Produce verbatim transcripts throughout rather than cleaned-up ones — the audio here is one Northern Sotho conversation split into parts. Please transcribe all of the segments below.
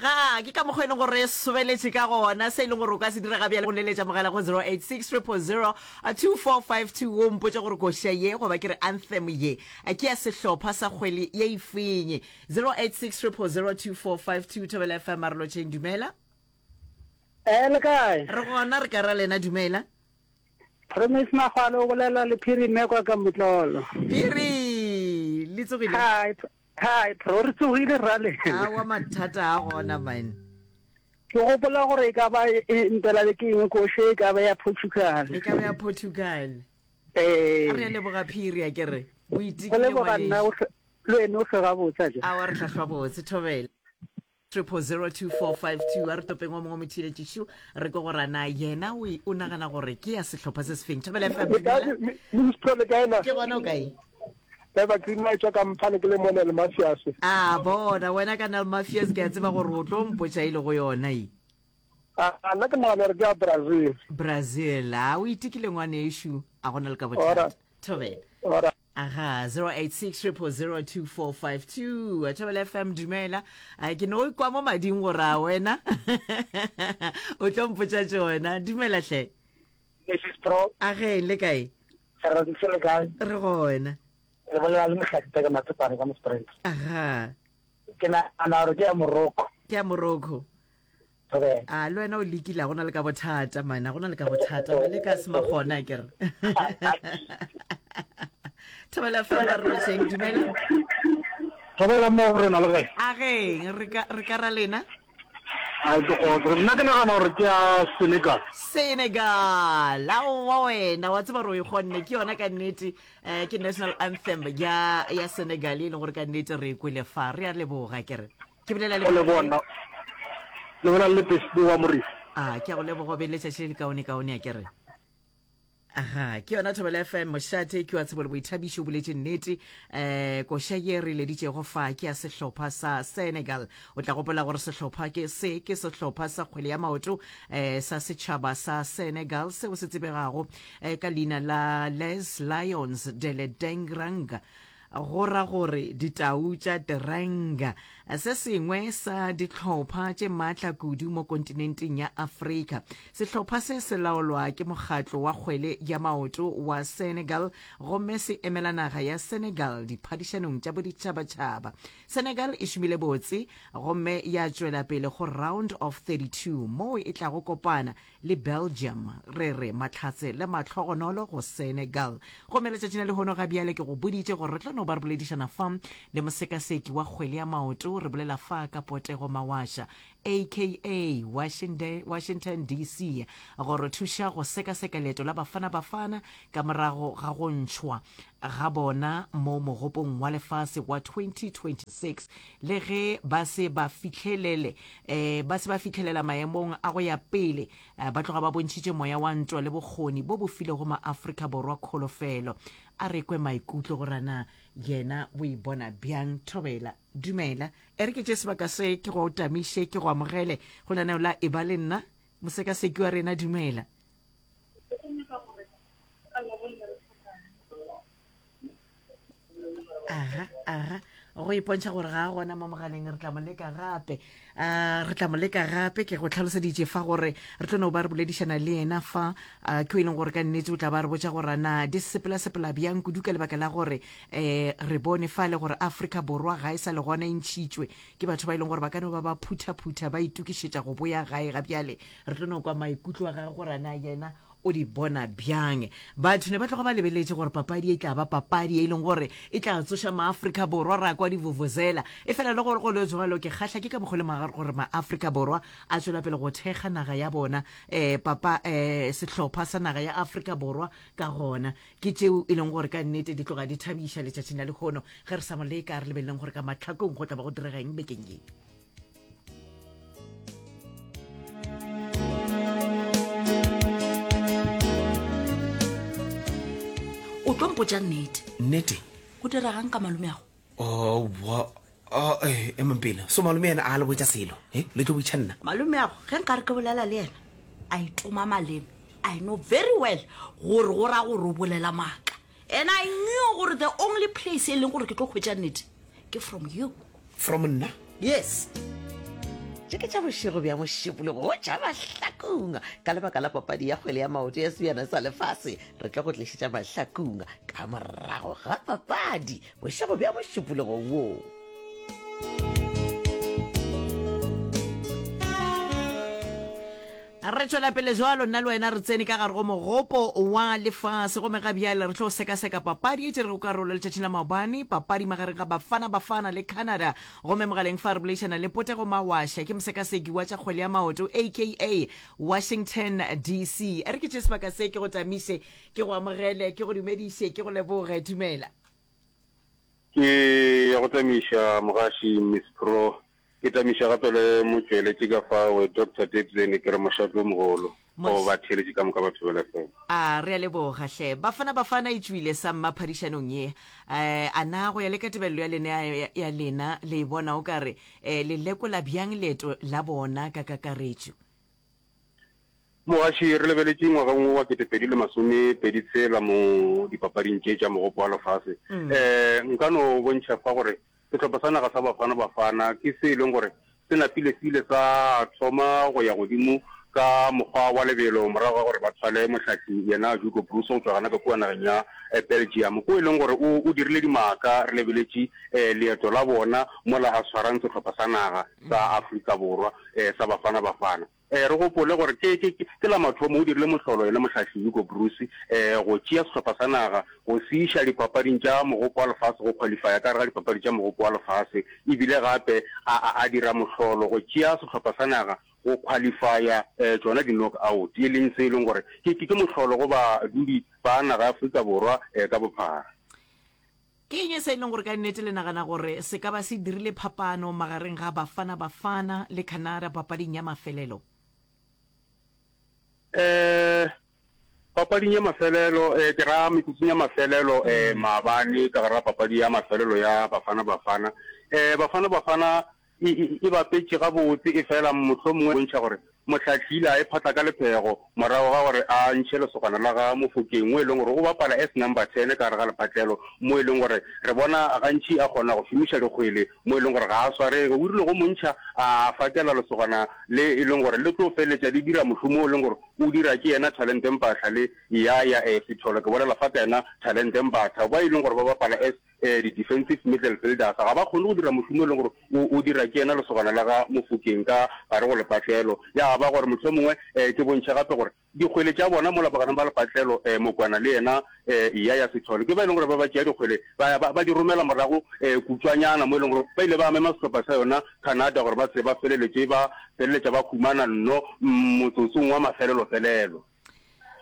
Aga, ke ka mokgwa e leng gore re sobeletše ka gona. Se e leng gore o ka se dira ga bjale go leletša mogala go zero eight six triple zero two four five two o mpotše gore koša ye goba ke re anthem ye ke ya sehlopha sa kgwele ye efeng. Zero eight six triple zero two four five two Thobela F M Marolotšheng, dumela. Eh, le kae? Re gona, re ka ra lena, dumela. Promise Magwalo o bolela le Phiri Mmekwa ka Motlolo. Phiri, le tsogile? Hi, Hi, bro, re tsogile rale. Awa mathata a gona man. Ke gopola gore e ka ba e, e mpela le ke eng koše e ka ba ya Portugal. E ka ba ya Portugal. Eh. A re a leboga Phiri a ke re. O Go itekile leboga nna ngwanešu. o hle- le wena o hle gabotse a je. Awa re hlahlwa botse thobela. Triple zero two four five two a re topeng o mongwe motheeletšišu re ke gore na yena o, o nagana gore ke ya sehlopha se sefeng. Thobela F M, Le kae, dumela. mi- mi- Miss Pro, le kae na? Ke gona o kae? Eva Green e tšwa ka Mphane ke le mo Nel Mafias. A bona wena ka Nel Mafias ke a tseba gore o tlo mpotša e le go yona e. A nna ke nagana gore ke ya Brazil. Brazil, a o itekile ngwanešu, a gona le ka bothata. Thobela. Ora. Aha, zero eight six triple zero two four five two. Thobela F M, dumela. A ke no kwa mo mading gore a wena o tlo mpotša tšona. Dumela hle. Missus Pro. A ge, le kae? Re ntse le kae? Re gona. Re bolela le Mohlakitse ka Matsopane ka Mosprings. Aha. Ke nagana gore ke ya Morocco. Ke ya Morocco. Thobela. A le wena o lekile, a gona le ka bothata man, a gona le ka bothata. Ba le ka se magona ke re. Thobela F M, re lotšheng, dumela. Thobela mo go rena le kae? A ge, re ka, re ka ra lena? A ke kgotso. Nna ke nagana gore ke ya Senegal. Senegal. Aowa wena, wa tseba gore o e kgonne, ke yona ka nnete. Eh, ke national anthem ya, ya Senegal e leng gore ka nnete re e kwele fa. Re a leboga ke re. Ke bolela le Go leboga nna. Le bolela le Beslie wa Morifi. A, ke a go leboga, o be le letšatši le le kaone kaone a ke re. Aha, ke yona Thobela F M, mošate ke wa tsebo le boithabišo, o boletše nnete. Eh, koša ye re leditšego fa ke ya sehlopha sa Senegal. O tla gopola gore sehlopha ke se ke sehlopha sa kgwele ya maoto, eh, sa setšhaba sa Senegal seo se tsebegago, eh, ka leina la Les Lions de Ledengrang, go ra gore ditau tša Teranga, se sengwe sa dihlopha tše maatla kudu mo kontinenteng ya Afrika. Sehlopha se se laolwa ke mokgatlo wa kgwele ya maoto wa Senegal gomme se emela naga ya Senegal diphadišanong tša boditšhabatšhaba. Senegal e šomile botse gomme ya tšwela pele go round of thirty-two moo e tlago kopana le Belgium. Re re mahlatse le mahlogonolo go Senegal. Gomme letšatšing la lehono ga bjale ke go boditše gore re tlo no ba re boledišana fa le mosekaseki wa kgwele ya maoto. Re bolela fa ka Potego Mawasha, A K A Washington D C, go re thuša go sekaseka leeto la Bafana Bafana ka morago ga go ntšhwa ga bona mo mogopong wa lefase wa twenty twenty-six, le ge ba se ba fihlelele, eh, ba se ba fihlelela maemong a go ya pele, eh, ba tloga ba bontšhitše moya wa ntwa le bokgoni bo bo filego maAfrika Borwa kholofelo. A re kwe maikutlo gore na yena o e bona bjang. Thobela, dumela. E re ke tše sebaka se ke go tamiše, ke go amogele go lenaneo la Eba le Nna. Mosekaseki wa rena, dumela. Aga, aga, go ipontšha gore ga a gona mo mogaleng, re tla mo leka gape. A, re tla mo leka gape. Ke go tlhaloseditše fa gore re tlo no ba re boledišana le yena fa, a, ke o e leng gore ka nnete o tla ba re botša gore na di sepela-sepela bjang kudu ka lebaka la gore, eh, re bone fa le gore Afrika Borwa ga e sa le gona e ntšhitšwe ke batho ba e leng gore ba ka no ba ba phutha-phutha ba itokišetša go boya gae ga bjale. Re tlo no kwa maikutlo a gagwe gore na yena o di bona bjang. Batho ne ba tloga ba lebeletše gore papadi e tla ba papadi e leng gore e tla tsoša maAfrika Borwa ra kwa divuvuzela. E fela le gore go le jwalo, ke kgahla ke ka mokgwa le ma-, gore maAfrika Borwa a tšwela pele go thekga naga ya bona, eh, papa, eh, sehlopha sa naga ya Afrika Borwa ka gona. Ke tšeo e leng gore ka nnete di tloga di thabiša letšatšing la lehono. Ge re sa mo leka, re lebeleleng gore ka mahlakong go tla ba go direga eng bekeng ye. O tlo mpotša nnete. Nnete? Go diregang ka malome ago? Oh, wa, oh, eh, emang pele. So malome yena a le botša selo, eh? Le tlo botša nna. Malome ago, ge nkare ke bolela le yena, a itoma maleme. I know very well gore go ra gore o bolela maaka. And I knew gore the only place e leng gore ke tlo hwetša nnete ke from you. From nna? Yes. Tše ke tša bošego bja mošupologo wo tša Mahlakung. Ka lebaka la papadi ya kgwele ya maoto ya Sebjana sa Lefase, re tlo go tlišetša Mahlakung ka morago ga papadi bošego bja mošupologo wo. Re tšwela pele jwalo, nna le wena re tsene ka gare go mogopo wa lefase gomme ga bjale re tlo sekaseka papadi e tšerego karolo letšatšing la maobane, papadi magareng ga Bafana Bafana le Canada. Gomme mogaleng fa re boledišana le Potego Mawasha, ke mosekaseki wa tša kgwele ya maoto aka Washington D C. A re ke tšee sebaka se ke go tamiše, ke go amogele, ke go dumediše, ke go leboge. Dumela. Ke ya go tamiša mogaši Miss Pro. Ke tamiša gape le motšweletši ka fao, Doctor Debzeni, ke re mošate o mogolo go batheeletši ka moka ba Thobela F M. A re a leboga hle. Bafana Bafana e tšwile sa mma phadišanong ye. A na go ya le ka tebelelo ya lena ya lena le e bona o ka re le lekola bjang leeto la bona ka kakaretšo? Mogaši, re lebeletše ngwageng wo wa kete pedi le masome pedi tshela mo dipapading tše tša Mogopo wa Lefase. Nka no bontšha fa gore Sehlopha sa naga sa Bafana Bafana ke se e leng gore se napile se ile sa thoma go ya godimo ka mokgwa wa lebelo morago ga gore ba thwale mohlahli yena Hugo Broos go tšwa gana ka kua nageng ya Belgium ko e leng gore o o dirile dimaka re lebeletše leeto la bona mola a swarang sehlopha sa naga sa Afrika Borwa sa Bafana Bafana. Re gopole gore ke, ke, ke la mathomo o dirile mohlolo yena mohlahli Hugo Broos go tšea sehlopha sa naga go se iša dipapading tša Mogopo wa Lefase, go khwalifaya ka gare ga dipapadi tša Mogopo wa Lefase, ebile gape a, a, a dira mohlolo go tšea sehlopha sa naga go khwalifaya tšona di-knock out, e leng se e leng gore ke, ke, ke mohlolo go badudi ba naga ya Afrika Borwa ka bophara. Ke eng se e leng gore ka nnete le nagana gore se ka ba se dirile phapano magareng ga Bafana Bafana le Canada papading ya mafelelo? Eh, papading ya mafelelo, eh, ke ra metsotsong ya mafelelo, eh, maabane ka gare ga papadi ya mafelelo ya Bafana Bafana. Eh, Bafana Bafana e, e, e bapetše gabotse, efela mohlomongwe bontšha gore mohlahli ile a e phatla ka lephego morago ga gore a ntšhe lesogana la ga Mofokeng mo e leng gore o bapala as number ten ka gare ga lepatlelo mo e leng gore re bona gantši a kgona go šomiša dikgwele mo e leng gore ga a swarege. O rile go mo ntšha a fakela lesogana le e leng gore le tlo feleletša le dira mošomo o e leng gore o dira ke yena Talente Mpahla le Yaya Sithole, ke bolela fa ka yena Talente Mbatha, ba e leng gore ba bapala as di-defensive middle fielders ga ba kgone go dira mošomo e leng gore o, o dira ke yena lesogana la ga Mofokeng ka gare go lepatlelo. Ya ba gore mohlomongwe ke bontšhe gape gore dikgwele tša bona mola bogareng ba lepatlelo, Mokwana le yena Yaya Sithole ke ba e leng gore ba ba tšea dikgwele ba, ba, ba di romela morago kutšwanyana mo e leng gore ba ile ba mema sehlopha sa yona Canada gore ba se ba feleletše ba feleletša ba humana nno motsotsong wa mafelelofelelo.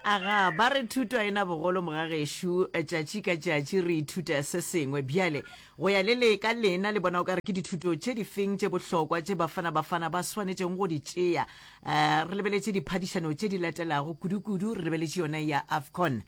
Aga, ba re thuto a e na bogolo mogagešo, tšatši ka tšatši re ithuta se sengwe. Bjale, go ya le le ka lena le bona o ka re ke dithuto tše difeng tše bohlokwa tše Bafana Bafana ba swanetšego go di tšea? Uh, re lebeletše diphadišano tše di latelago, kudu-kudu re lebeletše yona ya AFCON.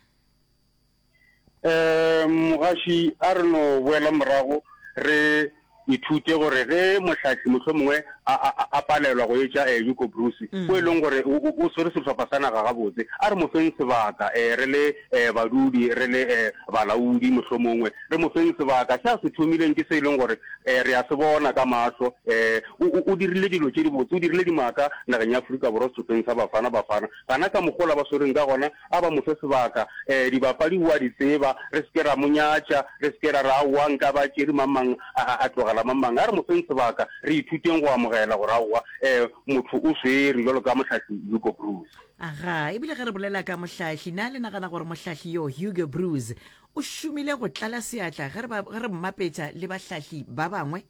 Um Mogaši, a re no boela morago re ithute gore ge mohlahli mohlomongwe a, a, a palelwa go etša eh, Hugo Broos, o e leng gore o, o, o swere sehlopha sa naga gabotse, a re mo feng sebaka eh, re le eh, badudi, re le eh, balaodi mohlomongwe, re mo feng sebaka. Se a se thomileng ke se e leng gore eh, re a se bona ka mahlo. Eh, o, o, o dirile dilo tše dibotse, o dirile dimaka nageng ya Afrika Borwa sehlopheng sa Bafana Bafana. Gana ka mokgwa ola ba swereng ka gona, A ba mo fe sebaka. Ee, dibapadi o a di tseba. Re se ke ra mo nyatša. Re se ke ra re, Aowa, nka ba tšere mang-mang, a, a, a tlogela mang-mang. A re mo feng sebaka. Re ithuteng go amogela gore, aowa, ee, motho o swere, bjalo ka mohlahli Hugo Broos. Aga, e bile ge re bolela ka mohlahli, na le nagana gore mohlahli yo, Hugo Broos, o šomile go tlala seatla ge re ba, ge re mmapetša le bahlahli ba bangwe?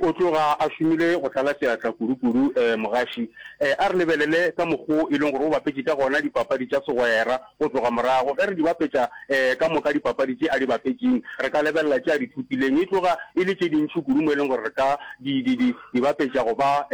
O tloga a šomile go tlala seatla kudu-kudu mogaši. A re lebelele ka mokgo e leng gore o bapetše ka gona dipapadi tša segwera go tloga morago. Ge re di bapetša ka moka dipapadi tše a di bapetšeng, re ka lebelela tše a di thopileng. E tloga e le tše dintši kudu mo e leng gore re ka di, di, di, di bapetša go ba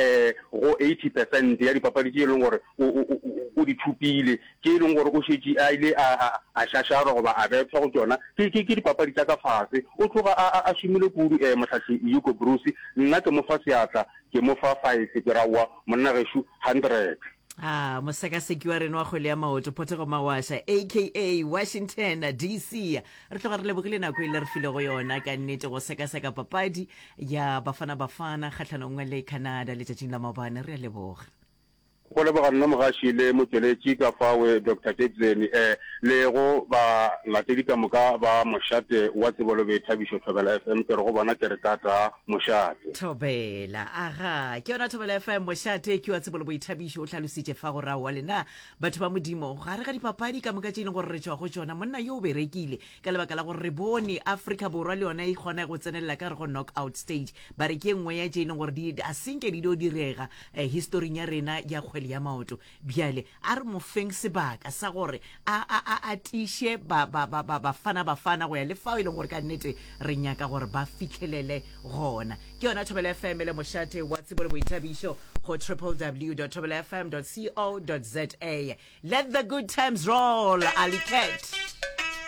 go eighty percent ya dipapadi tše e leng gore o, o, o, o di thopile. Tše e leng gore o šetše a ile a, a, a šašarwa goba a bethwa go tšona, ke, ke, ke dipapadi tša ka fase. O tloga a, a, a šomile kudu, eh, Mohlahli Hugo Broos. Nna ke mo fa seatla, ke mo fa five, ke ra aowa, monna gešo, hundred. A mosekaseki wa rena wa kgwele ya maoto Photego Mawasha aka Washington D C, re tloga re lebogile nako e le re filego yona ka nnete go sekaseka papadi ya Bafana Bafana kgahlanong le Canada letšatšing la maobane. Re a leboga. Go leboga nna mogaši le motšweletši ka fawe Doctor Tebzeni eh le go balatedi ka moka ba mošate wa tsebo le boithabišo Thobela F M ke re go bona ke re tata mošate. Thobela, Aga, ke yona Thobela F M mošate ke wa tsebo le boithabišo o hlalositše fa gore aowa lena batho ba Modimo gare ga dipapadi ka moka tše e leng gore re tšwa go tšona monna yo o berekile ka lebaka la gore re bone Afrika Borwa le yona e kgona go tsenelela ka gare go knock out stage ba re ke e nngwe ya tše e leng gore di a senke di dio direga eh, historing ya rena ya kgwele ya maoto. Bjale a re mo feng sebaka sa gore a, a, a, a tiiše ba, ba, ba, ba, bafana bafana go ya le fao e leng gore ka nnete re nyaka gore ba fihlelele gona. Ke yona Thobela F M le mošate wa tsebo le boithabišo go W W W dot thobela F M dot co dot za. Let the good times roll, Alicat.